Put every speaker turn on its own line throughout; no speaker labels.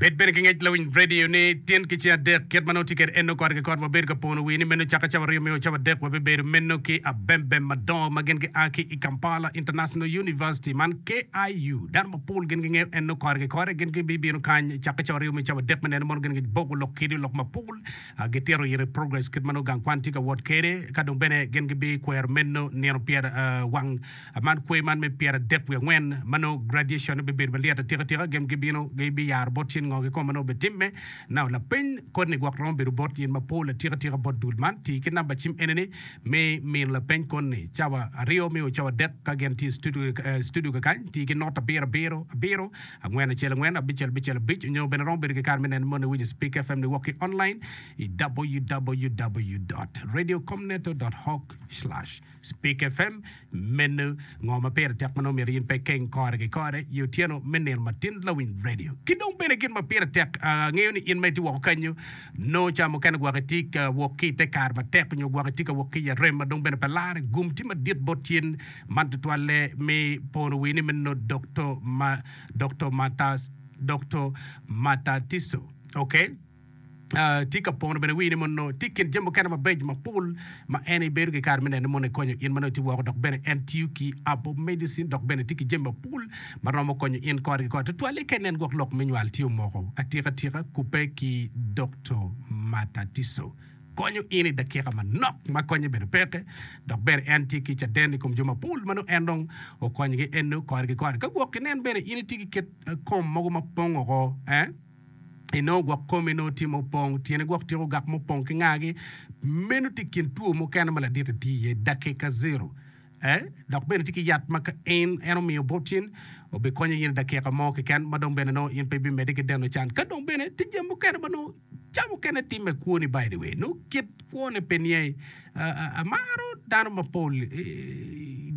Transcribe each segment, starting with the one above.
Bed bene ki ngec lawiny radio ni tyen ki ceng adek kit ma nongo tye kwede eno kore ki kore wabedo ka pono wii ni meno caka cawa aryo me o cawa adek wabibedo meno ki abembem madongo ma gin gia ki i Kampala International University man KIU dano mapol gin gingeyo eno kore ki kore gin gibibino kany caka cawa aryo me cawa adek me neno mono gin giboko lok kidi lok mapol gitito ire progress kit ma nongo gang kwan tye ka wot kwede ka dong bene gin gibikwero meno nino pyer wang Man kwer man me pyeradek wiye angwen ma nongo graduation bibedo malyet atika tika gin gibino gibiyaro bot cin ngo kikome ma nongo obitimme. Now lapeny koni gwok romo bedo bot in mapol atika tika bot dul man. Tii ki namba cim eni ni me mino lapeny koni cawa aryo me o cawa adek ka gin tye i studio kakany. Tii ki not abiro abiro abiro angwen acel angwen abicel abicel abic onyo bene romo bedo ki kare me neno moni iwinyo Speak FM niwok ki online i www dot radiocomneto dot org slash Speak FM, Meno ngo ma pire tek ma nongo myero in pe ikeng kore ki kore i otyeno me nino matin lawiny radio? Ki dong bene gin ma pire tek, angeyo ni in ma itye woko kanyo nongo ca mukene gwok itye ka wok ki i te kare matek nyo gwok itye ka wok ki i arem ma dong bene pe larre. Gum tye madit bot in man tutwalle me pono wii ni meno Doktor ma Doktor Matas Doktor Matatiso. Okay. Tye ka pono bene wi ni mono tye i kin jami mukene mabeco mapol ma en ibedo ki kare me neno ni mono ekonyo in ma nongo itye woko dok bene en tiyo ki herbal medicine dok bene tye ki jami mapol ma romo konyo in kore ki kore tutwalle ka inen gwok lok me nywal tye omoko atika tika kubbe ki Doktor Matatiso konyo in i dakika manok ma konye bene peke dok bene en tye ki caden i kom jo mapol ma nongo en dong okonyogi eno kore ki kore ka gwok inen bene in itye ki kit kom mogo ma pong oko eh. Inongo gwok komi nongo tye mupong, tyene gwok tye ogak mupong ki ngagi. Meno tye i kin two mukene ma ladit-ti tye iye, dakika zero. Eh, dok bene tye ki yat ma ka en en omiyo bot in, obikonyo in i dakika mo keken ma dong bene nongo in pe ibimedde ki deno can. Ka dong bene tye jami mukene ma nongo ca mukene timme i kwoni by the way, nongo kit kwone pe niye. Amaro dano mapol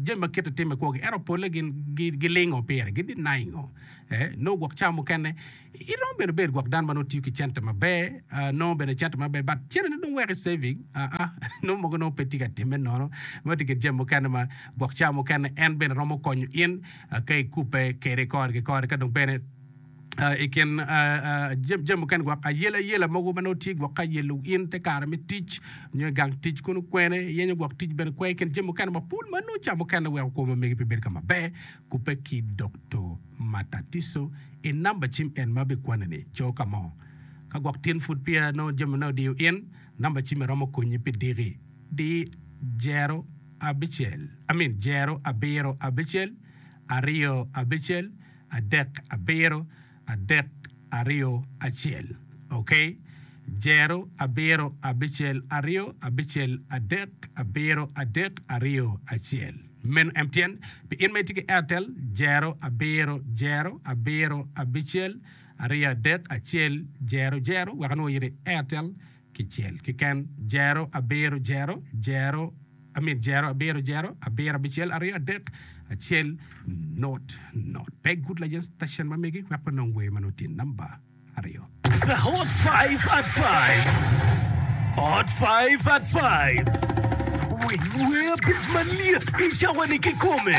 jami ma kite timme i kwogi ento polle gin gilingo pire, gi denying-o. Eh, nongo gwok ca mukene Iromo bene bedo gwok dano ma nongo tiyo ki cente maber, nongo bene cente maber but cente ne dong weko i saving aa nongo mogo nongo pe tye ka timme nono ma tye kin jami mukene ma gwok ca mukene en bene romo konyo in ka ikube kede kore ki kore ka dong bene i kin jami mukene gwok ayela yela mogo ma nongo tye gwok ka yelo in te kare me tic nyo i gang tic kunu kwene iyenyo gwok tic bene kwe i kin jami mukene mapol ma nongo ca mukene weko kwo ma megi pe bedo ka maber kubbe ki Doktor Matatiso i namba cim en ma abikwane-ni, co ka mo. Ka gwok tin pud peya nongo jamine odiyo in, namba cimme romo konyi pi diki. Di jero abicel, I mean jero abiro abicel, aryo abicel, adek abiro, adek aryo acel. Ok? Jero abiro abicel aryo abicel adek abiro adek aryo acel. Meno MTN. Pi in ma itye ki Airtel, jero abiro jero abiro abicel aryo adek acel jero jero wek anongo iri Airtel kicel keken jero abiro jero jero I mean jero abiro jero abiro abicel aryo adek acel not not. Pe good layen station ma megi wek wanong wer ma nongo tye namba aryo.
The Hot Five at Five Hot Five at Five Winy wer abic malyet i cawa-ni kikome.